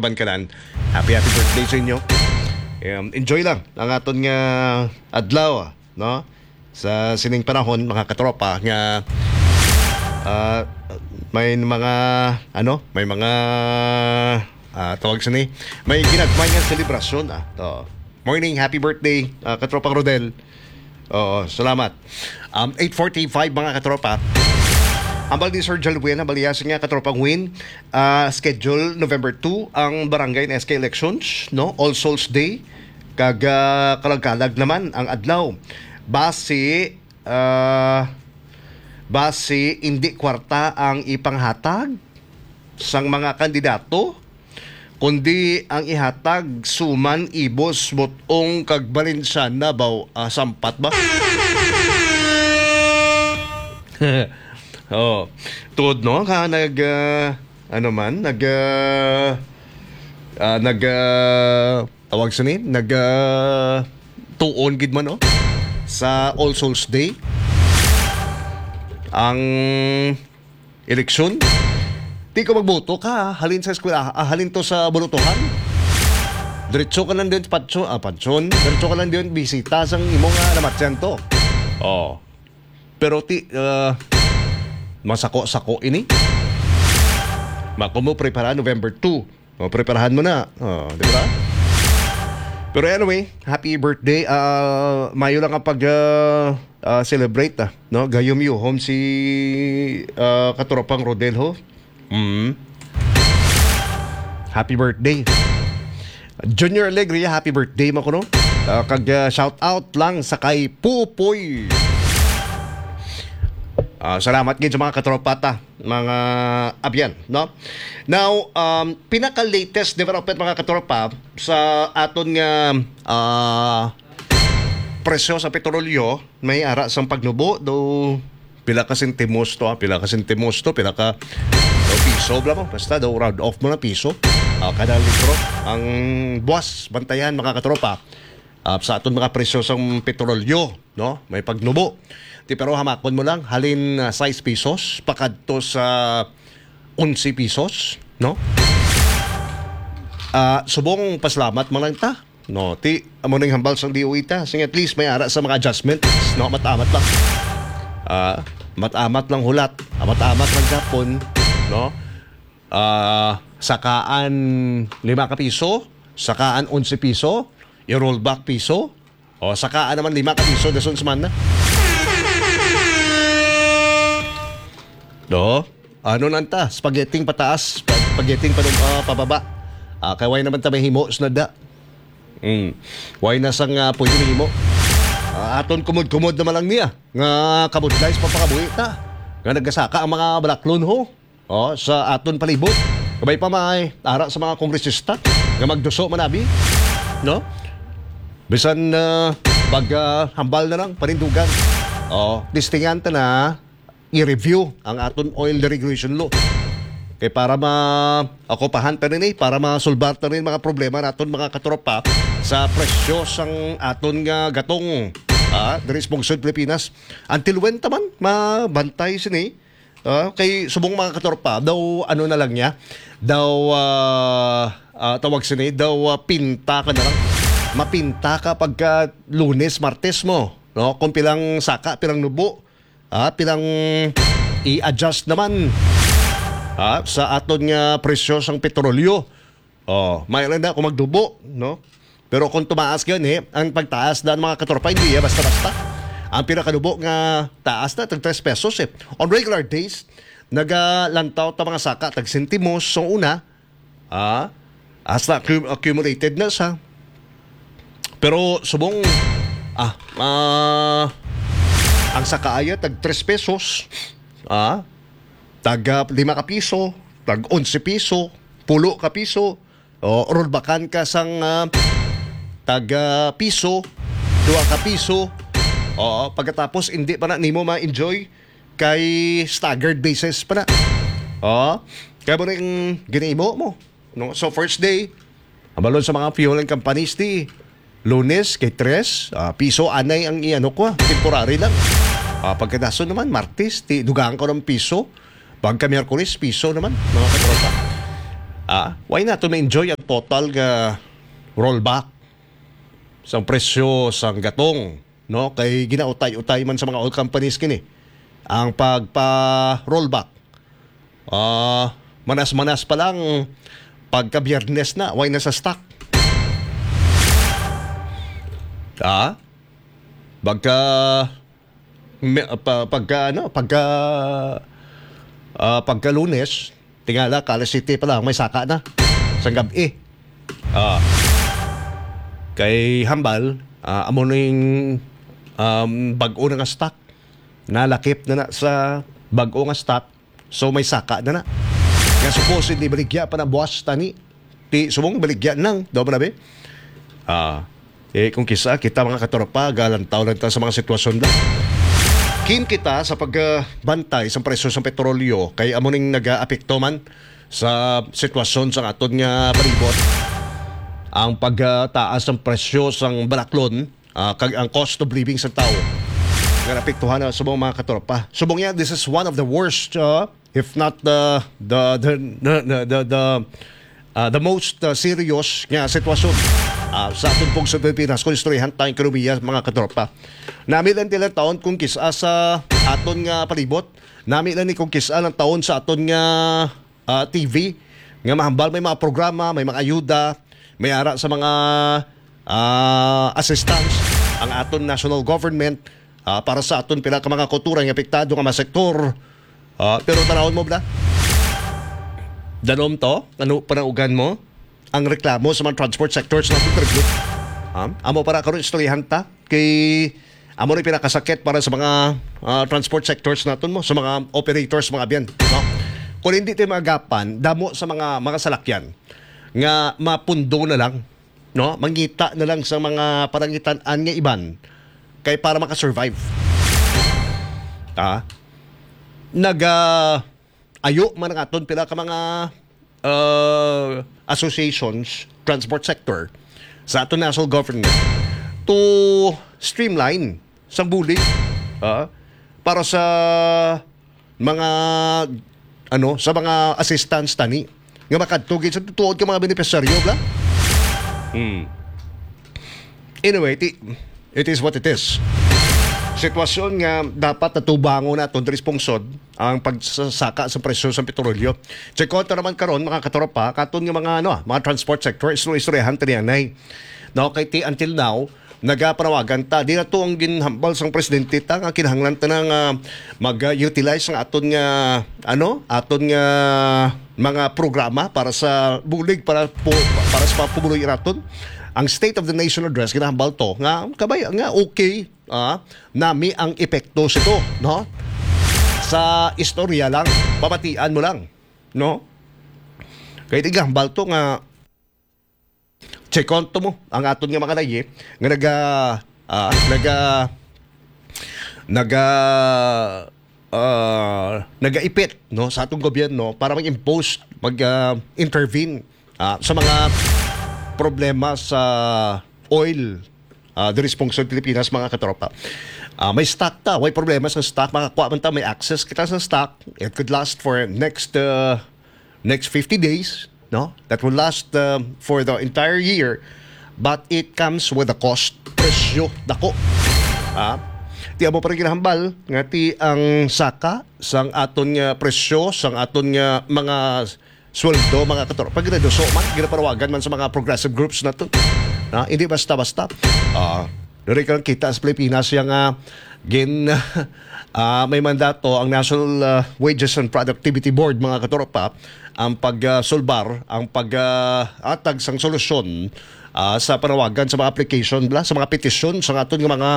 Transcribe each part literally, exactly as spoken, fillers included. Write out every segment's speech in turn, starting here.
pangkanan. Happy, happy birthday sa inyo. Um, enjoy lang ang aton nga adlaw, no? Sa sining panahon, mga katropa, nga, ah, may mga, ano, may mga, ah, tawag sini, may ginagmay nga selebrasyon, ah. To. Morning, happy birthday, ah, katropang Rodel. Oo, salamat. Um, eight forty-five, mga katropa. Hambal ni Sir Jalwin, hambal niya, sige nga, katropang Win, ah, schedule November two ang barangay and S K elections, no? All Souls Day, kag, ah, kalag-kalag naman ang adlaw. Basi, ah, basi hindi kwarta ang ipanghatag sang mga kandidato, kundi ang ihatag suman, ibos, butong, kag balinsyana ba, ah, sampat ba? Oh, tuod, no? Ka nag, ah, ano man, nag, ah, ah, nag, ah, tawag sini, nag, ah, tuon gid man, no? Sa All Souls Day, ang eleksyon. Di ka magboto ka, halin sa eskwela, ah, halin to sa bulutuhan. Diretso ka lang din, patso, ah, patson. Diretso ka lang din, bisita sang imo nga namatyan to. Oh. Pero ti, ah, masako-sako ini. Mako mo prepara November two. O, preparahan mo na. Oh, di ba? Pero anyway, happy birthday. Ah, mayo lang ang pag, ah, ah, celebrate, ah, no? Gayom yuhom si, ah, katropang Rodel, ho. Mm. Happy birthday. Junior Alegria, happy birthday mo kuno. Ah, kag, ah, shout out lang sa kay Pupoy. Ah, salamat gid sa mga katropa ta, mga abyan, no? Now, um, pinaka-latest development, mga katropa, sa aton nga, ah, presyo sa petrolyo, may ara sang pagnubo, do pila ka sentimos to, ah, pila ka sentimos to, pila ka, do piso, bla mo, basta do round off mo na piso, ah, kada litro. Ang buwas, bantayan, mga katropa, ah, sa aton mga presyo sang petrolyo, no? May pagnubo. Ti, pero hamakon mo lang, halin, ah, sais pesos, pakadto sa onse pesos, no? Ah, subong pasalamat man lang ta. No, ti, amo ning hambal sang D O E ta. Sing at least may ara sa mga adjustments, no? Matamat lang. Ah, matamat lang hulat. Ah, matamat lang Japon, no? Ah, sakaan lima ka piso, sakaan onse piso, i-roll back piso. O, sakaan naman lima ka piso, dason sa man na. Do? Ano lang ta? Spaghetti pataas, spaghetti pa, ah, pababa. Ah, kay way naman ta may himo sa nada. Mm. Way na sang, ah, pwede himo. Ah, aton kumod-kumod naman lang niya. Nga kabudlay sa pagpakabuhi ta. Nga nagasaka ang mga balaklon, ho. Oh, sa aton palibot. Kabay pa may ara sa mga kongresista nga magduso man abi, no? Bisan, ah, pag, ah, hambal na lang, panindugan. Oh, testingan ta na i-review ang aton oil deregulation law. Kay para ma-, ocupahan ta rin eh, para masulbar ta rin mga problema naton mga katropa sa presyo sang aton nga gatong, ah, diri sa Bungsod Pilipinas. Until when ta man mabantay sini? Ah, kay subong mga katropa, daw ano na lang niya, daw, ah, ah, tawag sini, daw, ah, pinta ka na lang. Mapinta ka pagka Lunes, Martes mo, no? Kung pilang saka, pilang nubo, ah, pilang i-adjust naman, ah, sa aton nga presyo sang petrolyo. Oh, may lang na kung magdubo, no? Pero kung tumaas gyud, eh, ang pagtaas na mga katropa, hindi yan basta-basta. Ang pinakadubo nga taas na, tag tres pesos, eh. On regular days, nagalantaw ta mga saka, tag sentimos, sa una, ah, hasta accum-, accumulated na sa. Pero subong, ah, ah, ang saka aya, tag tres pesos, ah, tag, ah, lima ka piso, tag onse piso, pulo ka piso, o, rollbackan ka sang, ah, tag, ah, piso, duha ka piso. Oo, pagkatapos, hindi pa na nimo ma-enjoy kay staggered basis pa na. Oo, kaya mo rin ginimo mo. No? So, first day, abalon sa mga fueling companies, di, Lunes kay tres, ah, piso, anay ang iano ko, ah, temporary lang. Ah, pagkadason naman, Martes, ti, dugang ko ng piso. Pagka Miyerkules, piso naman, mga katropa. Ah, why not to ma-enjoy ang total nga rollback sang presyo sang gatong, no? Kay ginautay-utay man sa mga oil companies kini ang pagpa-rollback. Ah, manas-manas pa lang pagka Biyernes na, why na sa stock? Ah? Pagka me- pa, pagka ano, pagka ah, pagka Lunes, tingala ka alas siyete pa lang may saka na sang gab-i. Ah. Kay hambal, ah, amo ning um, bag-o na nga stock. Nalakip na na sa bag-o nga stock. So may saka na na. Nga supposedly baligya pa na buwas tani. Ti subong baligya nang daw ba na, be? Ah, eh, kung kisa kita, mga katropa, galantaw lang ta sa mga sitwasyon na. Keen kita sa pagbantay sa presyo sa petrolyo kay amo ning nagaapekto man sa sitwasyon sa aton nga palibot. Ang pagtaas ng presyo sang balaklon, ah, kag ang cost of living sa tao nga naapektuhan na subong, mga katropa. Subong niya, this is one of the worst, ah, if not the the the the the, the, the, ah, the most, ah, serious nga sitwasyon, ah, sa aton pong sa Pilipinas kung istoryahan tang ekonomiya, mga katropa. Nami lang nila taon kung kisa sa aton nga palibot. Nami lang ni kung kisa lang taon sa aton nga ah, T V nga mahambal may mga programa, may mga ayuda, may ara sa mga ah, assistance ang aton national government, ah, para sa aton pila ka mga kultura nga apektado nga mga sektor. Ah, pero tanawon mo ba? Danom to? Ano panaugan mo? Ang reklamo sa mga transport sectors natin, Triglit. Ha? Amo para karon istoryahan ta kay amo ni pinakasakit para sa mga ah, transport sectors naton mo, sa mga operators, mga abyan, no? Kung hindi tayo magapan, damo sa mga mga salakyan nga mapundo na lang, no? Mangita na lang sa mga parangitan-an nga iban kay para makasurvive. Ah, naga ayo man ang aton pila ka mga uh, associations, transport sector sa aton national government to streamline sang bulig, ah, para sa mga ano, sa mga assistance tani nga makadto gid sa tutuod ka mga benepisyaryo, bla. Hmm. Anyway, ti, it is what it is. Sitwasyon nga dapat natubangon naton diri sa pungsod ang pagsasaka sa presyo sa petrolyo. Check out naman karon, mga katropa, katon nga mga ano, mga transport sector, istoryahan tani anay. No, kay ti until now, nagapanawagan ta. Di na to ang ginhambal sang presidente ta nga kinahanglan ta na nga mag-utilize ang aton nga ano, aton nga mga programa para sa bulig, para po, para sa mga pumuluyo naton. Ang State of the Nation Address, ginahambal to nga kabay nga okay, ah, nami ang epekto sito, no? Sa istorya lang, pamatian mo lang, no? Kay tigahambal to nga check on to mo ang aton nga mga layi nga naga ah, naga naga ah, nagaipit, no, sa atong gobyerno para mag-impose, mag ah, intervene ah, sa mga problema sa oil ah, diri sa pungsod Pilipinas, mga katropa. Ah, may stock ta, may problema sa stock, makakuha man ta, may access kita sa stock. It could last for next uh, next fifty days, no? That will last uh, for the entire year, but it comes with a cost. Presyo dako. Ha? Ti amo pa rin ginahambal nga ti ang saka sang aton nga presyo, sang aton nga mga sweldo, mga katropa, pag reduso man, ginapanawagan man sa mga progressive groups nato. Na, hindi basta-basta. Ah, diri ka lang kita sa Pilipinas yang ah, gin ah, may mandato ang National ah, Wages and Productivity Board, mga katropa, ang pagsulbar, ang pag-atag sang solusyon ah, sa panawagan sa mga application, bla, sa mga petisyon sa aton nga mga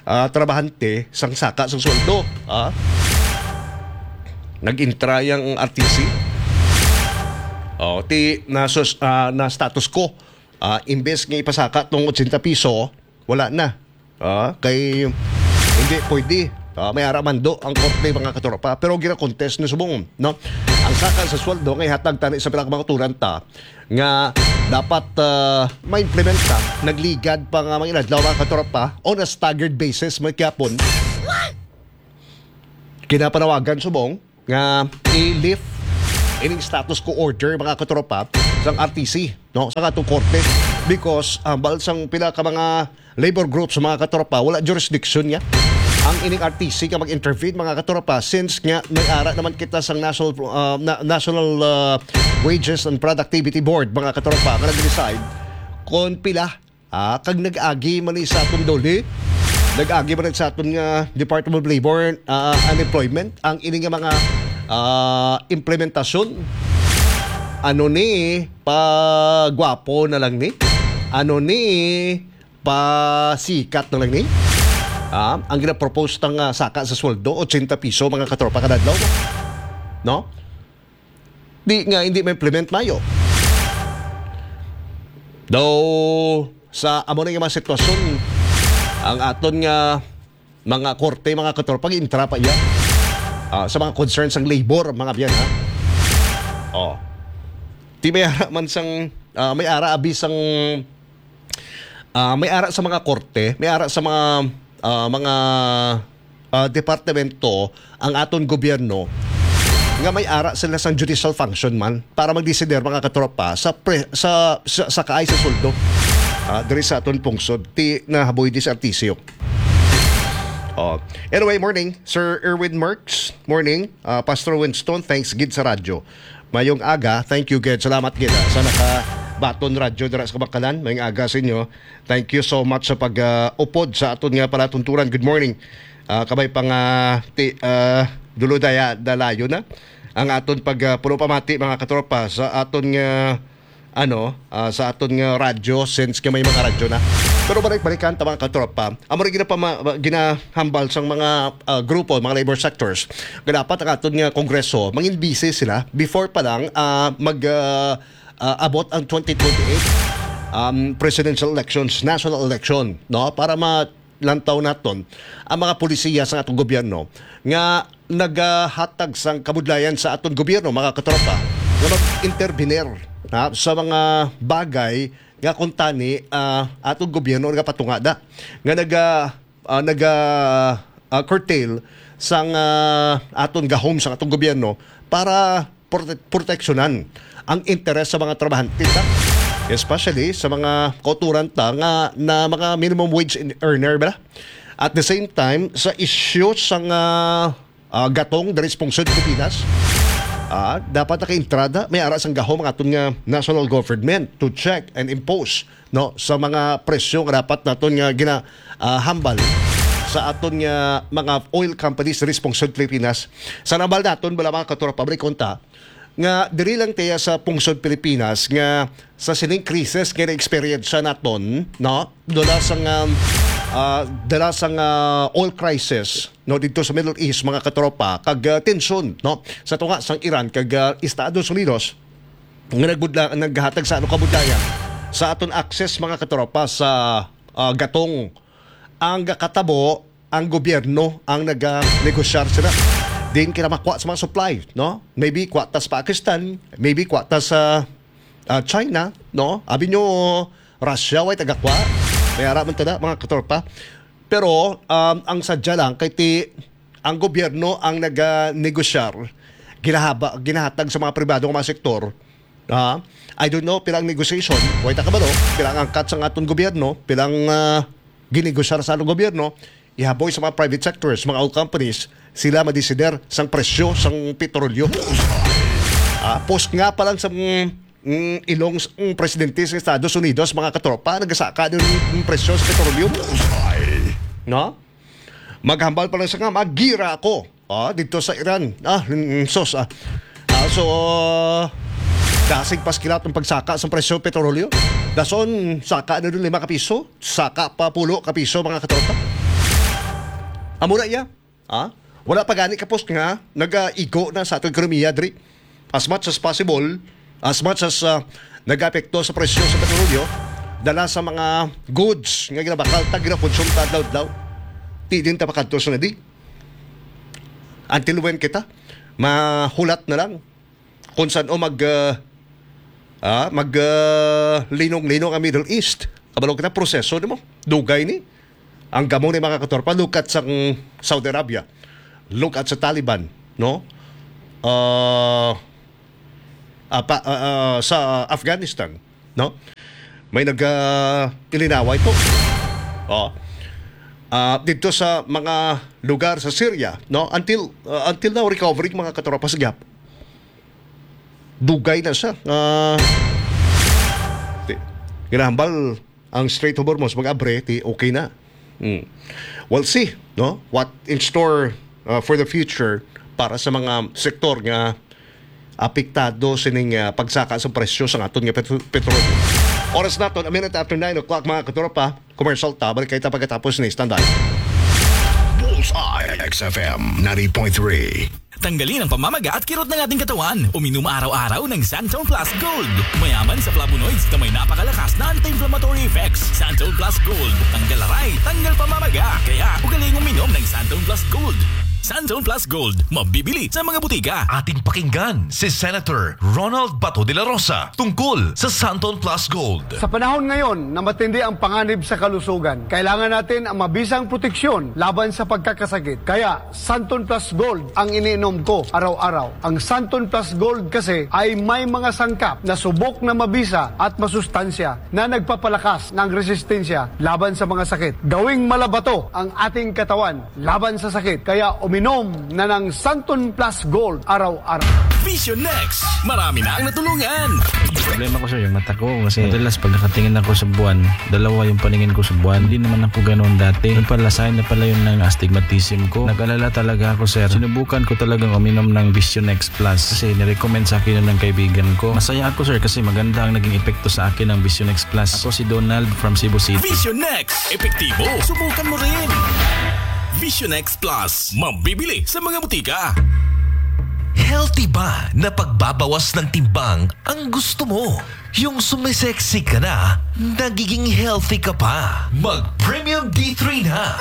ah, trabahante sang saka sang sweldo. Ah. Nag-intra yang R T C. Oh, ti na, sus, ah, na status quo. Ah, imbes nga ipasaka tong eighty piso, wala na. Ah, kay hindi pwede. Ah, may ara mando ang korte, mga katropa. Pero gina-contest ni subong, no? Ang saka sa sweldo nga ihatag tani sa pila ka mga turan ta nga dapat ah, ma-implementa. Nagligad pa nga mga inadlaw, mga katropa, on a staggered basis, may kiyapon. Kinapanawagan subong nga i-lift ining status quo order, mga katropa, sang R T C, no, sa atong korte, because, ah, hambal sang pila ka mga labor groups, mga katropa, wala jurisdiction niya ang ining R T C nga mag-intervene, mga katropa, since nga may ara naman kita sang National, ah, na-, National, ah, Wages and Productivity Board, mga katropa, nga nag-decide kon pila, ah, kag nag-agi man ni sa aton DOLE, nag-agi man ni sa aton nga Department of Labor, ah, Unemployment, ang ini nga mga, ah, implementasyon. Ano ni, pa gwapo na lang ni? Ano ni, pa sikat na lang ni? Ah, ang ginapropose tang, ah, saka sa sweldo, ochenta piso, mga katropa, kada adlaw. No? Di nga hindi ma-implement mayo. Daw sa amo na nga mga sitwasyon, ang aton nga mga korte, mga katropa, intra pa iya, ah, sa mga concerns sang labor, mga biyan, ha? Oh. Di may ara man sang, ah, may ara abi sang, ah, may ara sa mga korte, may ara sa mga, ah, mga, ah, departamento ang aton gobyerno nga may ara sila sang judicial function man para magdesider, mga katropa, sa pre-, sa, sa, sa kaay sa sweldo, ah, diri sa aton pungsod. Ti nahaboy di sa R T C. Oh. Anyway, morning, Sir Erwin Merks. Morning, ah, Pastor Winston. Thanks gid sa radyo. Mayong aga. Thank you gid. Salamat gid, ah, sa nakabaton radyo dira sa Kabacalan. Mayong aga sa inyo. Thank you so much sa pag, ah, upod sa aton nga palatuntunan. Good morning. Ah, kabay pa nga ti, ah, dulo daya dalayo na ang aton pag, ah, pulo pamati, mga katropa, sa aton nga, ano, ah, sa aton nga radyo, since nga may mga radyo na. Pero balik-balikan ta, mga katropa, amo rin ginapama-, ginahambal sang mga, ah, grupo, mga labor sectors, nga dapat ang aton nga kongreso, mangin busy sila before pa lang, ah, mag, ah, ah, abot ang twenty twenty-eight, um, presidential elections, national election, no? Para ma-, lantaw naton ang mga polisiya sa atong gobyerno nga nagahatag sang kabudlayan sa aton gobyerno, mga katropa, nga mag-intervenir, ha, sa mga bagay nga kuntani, ah, atong gobyerno nagapatungada, nga naga-, ah, naga, ah, curtail sang, ah, aton gahom sa atong gobyerno para prote-, proteksyonan ang interes sa mga trabahante ta, especially sa mga kauturan ta nga na mga minimum wage in-, earner ba. At the same time, sa isyu sang, ah, ah, gatong diri sa pungsod Pilipinas, ah, dapat nakaintrada, may ara sang gahom ang aton nga national government to check and impose, no, sa mga presyo nga dapat naton nga gina-, ah, hambal sa aton nga mga oil companies diri sa pungsod Pilipinas. Sa nambal naton, bala, mga katropa, balik unta, nga diri lang tiya sa pungsod Pilipinas nga sa sining krisis nga na-experience naton, no? Dala sang, um, ah, dala sang, ah, oil crisis, no, dito sa Middle East, mga katropa, kag, ah, tensyon, no, sa tunga sang Iran kag, ah, Estados Unidos, nga nagudla-, naghatag sa ano, kabudlayan sa aton access, mga katropa, sa, ah, gatong. Ang katabo, ang gobyerno ang naganegosyar sila. Din kita makuha sa mga supply, no? Maybe kuha ta sa Pakistan, maybe kuha ta sa, ah, China, no? Abi nyo, Russia, way tagakuha. May ara man tada, mga katropa. Pero, um, ang sadya lang, kay ti, ang gobyerno ang naganegosyar, ginahaba-, ginahatag sa mga pribado nga mga sektor. Ah, I don't know, pilang negotiation, way ta kabalo, pilang angkat sa aton gobyerno, pilang, ah, ginegosyar sa aton gobyerno, ihaboy sa mga private sectors, mga oil companies, sila madesider sang presyo sang petrolyo. Ah, post nga pa lang sa, mm, mm, ilong s-, ang presidente sa Estados Unidos, mga katropa, nagasaka din ang presyo sa petrolyo. No? Maghambal pa lang sa nga, magira ako. Ah, dito sa Iran. Ah, mm, sos, ah. Ah, so, dasig pas kilat ang pagsaka sa presyo petrolyo. Dason, saka na dun lima ka piso, saka pa pulo ka piso, mga katropa. Amo na iya. Ah? Wala pa gani kapos nga nagaigo na sa atong ekonomiya diri. As much as possible, as much as, ah, nag-apekto sa presyo sa petrolyo, dala sa mga goods nga ginabakal ta, ginakonsume ta adlaw-adlaw. Di din ta makadto sa nadi. Until when kita? Mahulat na lang kung san-o mag, ah, ah, mag, ah, linong-linong ang Middle East. Kabalo kita, proseso nimo. Dugay ni. Ang gamo ni, mga katropa, look at sang Saudi Arabia. Look at sa Taliban, no? Ah, apa, ah, ah, sa Afghanistan, no? May nag, ah, ilinaway po. Oh. Ah, dito sa mga lugar sa Syria, no? Until, ah, until now, recovering, mga katropa, sa gihap. Dugay na siya. Ah, di-, ginahambal ang Strait of Hormuz mag-abre, di okay na. Hmm. We'll see, no? What in store, uh, for the future para sa mga sektor nga apektado sining, uh, pagsaka sa presyo sa aton nga petro-, petrolyo. Oras naton, a minute after nine o'clock, mga katropa. Commercial ta, balik kita pagkatapos ni Standby. Bullseye, X F M ninety point three. Tanggalin ang pamamaga at kirot ng ating katawan. Uminom araw-araw ng Santon Plus Gold. Mayaman sa flavonoids na may napakalakas na anti-inflammatory effects. Santon Plus Gold. Tanggal aray, tanggal pamamaga. Kaya, ugaling uminom ng Santon Plus Gold. Santon Plus Gold. Mabibili sa mga butika. Ating pakinggan si Senator Ronald Bato de la Rosa tungkol sa Santon Plus Gold. Sa panahon ngayon na matindi ang panganib sa kalusugan, kailangan natin ang mabisang proteksyon laban sa pagkakasakit. Kaya, Santon Plus Gold ang iniinom ko araw-araw. Ang Santon Plus Gold kasi ay may mga sangkap na subok na mabisa at masustansya na nagpapalakas ng resistensya laban sa mga sakit. Gawing malabato ang ating katawan laban sa sakit. Kaya uminom na ng Santon Plus Gold araw-araw. Vision X, marami na ang natulungan. Problema ko, sir, yung mata ko. Kasi madalas pag nakatingin ako sa buwan, dalawa yung paningin ko sa buwan. Hindi naman ako ganoon dati. Yung pala, sign na pala yun ng astigmatism ko. Nag-alala talaga ako, sir. Sinubukan ko talagang uminom ng Vision X Plus kasi nirecommend sa akin yun ng kaibigan ko. Masaya ako, sir, kasi maganda ang naging epekto sa akin ng Vision X Plus. Ako si Donald from Cebu City. Vision X, epektibo. Subukan mo rin. Vision X Plus, mabibili sa mga butika. Healthy ba na pagbabawas ng timbang ang gusto mo? Yung sumisexy ka na, nagiging healthy ka pa. Mag Premium D three na.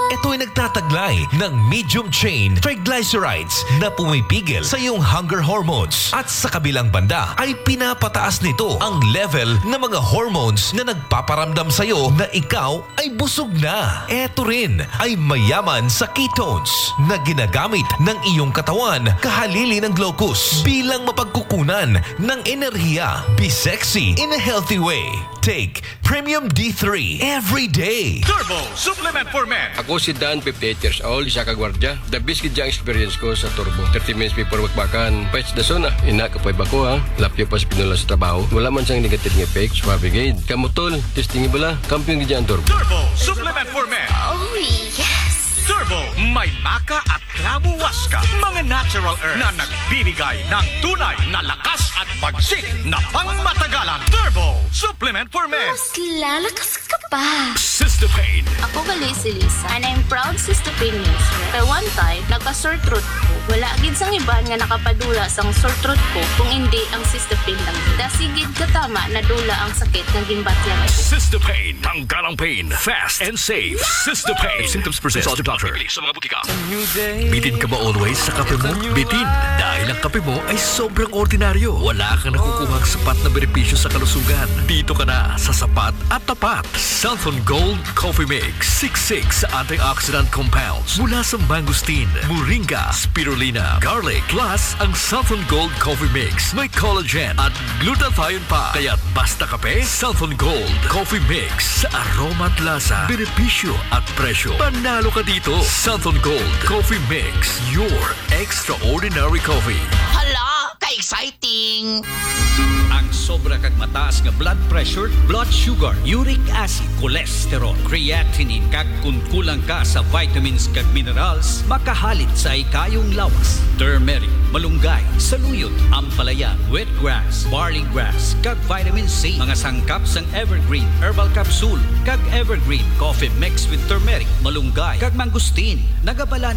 Ito ay nagtataglay ng medium chain triglycerides na pumipigil sa iyong hunger hormones. At sa kabilang banda ay pinapataas nito ang level ng mga hormones na nagpaparamdam sa iyo na ikaw ay busog na. Eto rin ay mayaman sa ketones na ginagamit ng iyong katawan kahalili ng glucose bilang mapagkukunan ng enerhiya. Be sexy in a healthy way. Take Premium D three every day. Turbo Supplement for Men. Ako si Dan, fifty-eight years old, isa ka gwardiya. The best gid ang experience ko sa Turbo. Thirty minutes before bakbakan, pwes da zona. Ina, kapoy ba ko, ha? Lapyo pa sa pinula sa trabaho. Wala man sang negative nga effect. Suabe gid. Kamo, tol, testingi bala. Kampiyon gid ang Turbo. Turbo Supplement for Men. Oh, yes! Turbo, may maca at clavo huasca. Mga natural herbs na nagbibigay ng tunay na lakas at bagsik na pangmatagalan. Turbo Supplement for Men. Mas lalakas ka pa. Sister Pain. Ako gali si Lisa, and I'm proud Sister Pain user. Kay one time, nagka-sore throat ko. Wala gid sang iban nga nakapadula sang sore throat ko kung indi ang Sister Pain lang. Dasi gid katama nadula ang sakit nga ginbatyan ko. Sister Pain. Tanggal ang pain. Fast and safe. Sister Pain. If symptoms persist, consult your doctor. Bibili sa mga butika. Bitin ka ba always sa kape mo? Bitin, dahil ang kape mo ay sobrang ordinaryo. Wala kang nakukuhang sapat na benepisyo sa kalusugan. Dito ka na sa sapat at tapat. Santhon Gold Coffee Mix, six six antioxidant compounds mula sa mangosteen, moringa, spirulina, garlic. Plus, ang Santhon Gold Coffee Mix may collagen at glutathione pa. Kaya basta kape, Santhon Gold Coffee Mix sa aroma at lasa, benepisyo at presyo. Panalo ka dito. Santhon Gold Coffee Mix, your extraordinary coffee. Hala, ka-exciting! Ang sobra kag mataas nga blood pressure, blood sugar, uric acid, cholesterol, creatinine, kag kun kulang ka sa vitamins kag minerals, makahalit sa hikayong lawas. Turmeric, malunggay, saluyot, ampalaya, wheatgrass, barley grass, kag vitamin C. Mga sangkap sang Evergreen Herbal Capsule kag Evergreen Coffee Mix with Turmeric, Malunggay, kag Mangosteen. Nagabalanse